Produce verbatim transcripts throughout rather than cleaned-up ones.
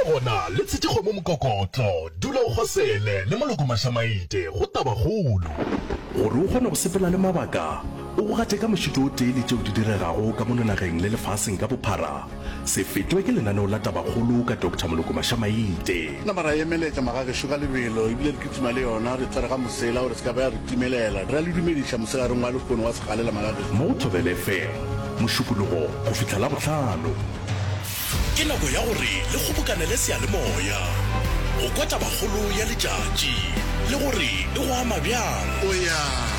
Le gona le tshetše kgomo mokokotlo. Dula o kgosele le Moloko Mašamaite go Tabakgolo. Gore o kgone go sepela le mabaka, o go gate ka mošito o tee le tšeo di diregago ka mono nageng le lefaseng ka bophara, se fetwe ke lenaneo la Tabakgolo ka Doctor Moloko Mašamaite. Nama ra emeletša magagešo ka lebelo ebile re kitima le yona, re tshwere ga mosela gore se ka ba ya re timelela. Re a le dumediša mosegareng wa lehono wa segalela magagešo. Mo go Thobela FM, Mošupologo go fihla Labohlano. Ke nako ya gore le kgobokanele seyalemoya go kwa tabakgolo ya letšatši le gore e go ama bjang.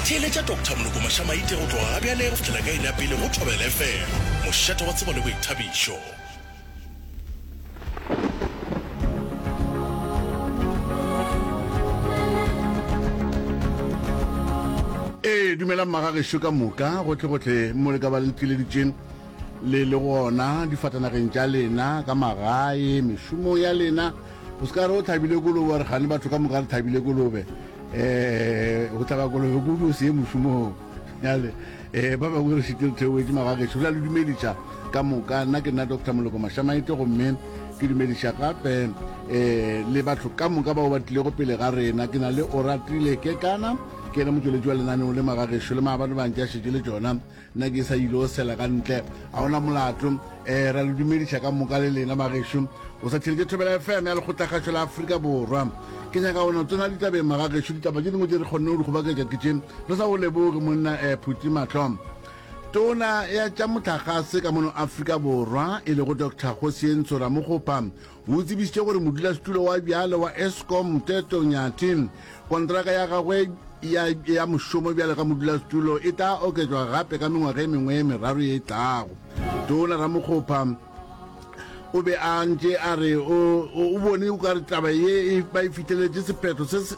Theeletša Doctor Moloko Mašamaite go tloga gabjale go fihlela ka iri ya pele go Thobela F M, mošate wa tsebo le boithabišo. Ee, dumelang magagešo ka moka, gohlegohle mo le ka ba le tlileditše le le gona difatanageng tša lena, ka magae, mešomong ya lena. O se ka re o hlabile kolobe, wa re kgane batho ka moka re hlabile kolobe. Um go hlaba kolobe kudu o se ye mošomong. Bjale um ba bangwe re šetše re theoetše magagešo, re a le dumediša ka moka. Nna ke nna Doctor Moloko Mašamaite, gomme ke dumediša gape um le batho ka moka bao ba tlilego pele ga rena. Ke na le Oratile Kekana, ke yena motšweletši wa lenaneo le magagešo, le maabane ba ntše a šetše le tšona. Nna ke sa ile o sela ka ntle, ga ona molato. Um ra le dumediša ka moka le lena magešo. O sa theletše Thobela F M ya Lekgotlakgašo la Afrika Borwa. Ke nyaka go no tsena ditabeng magagešo. Ditaba tše dingwe tše re kgonne go di kgobaketša ke tše re sa go leboge monna um Phuti Mahlo. Tona ya tša mohlagase ka mono Afrika Borwa e lego Doctor Kgosientsho Ramokgopa o tsebišitše gore modulasetulo wa bjale wa Eskom Mteto Nyathi kontraka ya gagwe ya, ya mošomo bjale ka modulasetulo e tla oketšwa gape ka mengwaga e mengwe e meraro ye e tlago. Tona Ramokgopa o be a ntše a re o, o bone o ka re taba ye e, ba e fihleletše sephetho se se.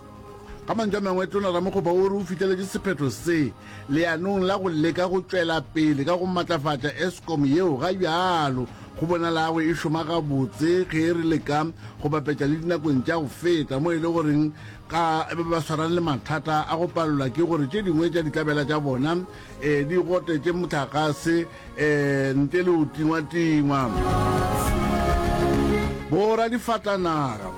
Ka mantšu a mangwe, Tona Ramokgopa o re o fihleletše sephetho se leanong la go leka go tšwela pele ka go matlafatša Eskom yeo ga bjalo go bonalago e šoma gabotse ge re leka go bapetša le dinakong tša go feta mo e le goreng ka ba ba swarane le mathata a go palelwa ke gore tše dingwe tša ditlabela tša bona di gotetše mohlagase ntle le go tingwatingwa. Boradifatanaga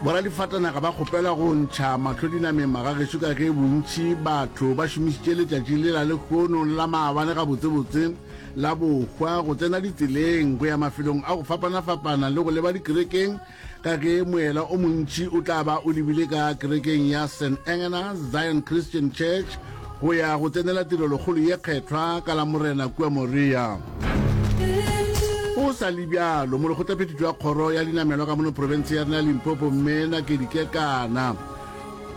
Boradifatanaga ba kgopelwa go ntšha mahlo dinameng magagešo ka ge bontši batho ba šomišitše letšatši le la lehono le la maabane gabotsebotse la bohwa go tsena ditseleng go ya mafelong a go fapanafapana le go leba dikerekeng Ka ge moela o montši o tla ba o lebile ka kerekeng ya Saint Engena Zion Christian Church go ya go tsenela tirelokgolo ye kgethwa ka Lamorena kua Moria. Go sa le bjalo, molekgotlaphethiši wa kgoro ya dinamelwa ka mono profense ya rena ya Limpopo, Mme Nakedi Kekana,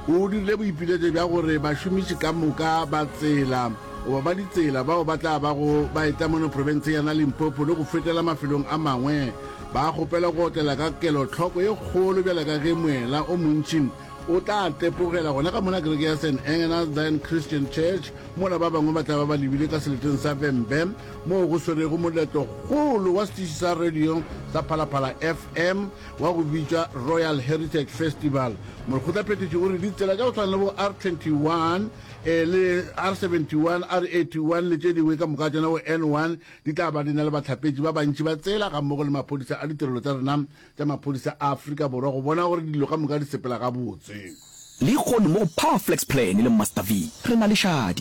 o dirile boipiletšo bja gore bašomiši ka moka ba tsela goba ba ditsela bao ba tla bago ba etla mono profenseng ya rena Limpopo le go fetela mafelong a mangwe ba kgopelwa go otlela ka kelohloko ye kgolo bjalo ka ge moela o montši o tla tepogela gona ka mona kereke ya Saint Engena Zion Christian Church mola ba bangwe ba tla ba ba lebile ka seleteng sa Vhembe moo go swerego moletlokgolo wa setiši sa radio sa Phalaphala F M wa go bitšwa Royal Heritage Festival. Molekgotlaphethiši o re ditsela tša go swana le bo R twenty one le R seventy one, R eighty one le tše dingwe ka moka tšona bo N one di tla ba di na le bahlapetši ba bantši ba tsela gammogo le maphodisa a ditirelo tša rena tša maphodisa a Afrika Borwa go bona gore dilo ka moka di sepela gabotse. Lehono mo go Power Flex Plan le Master V re na le šadi.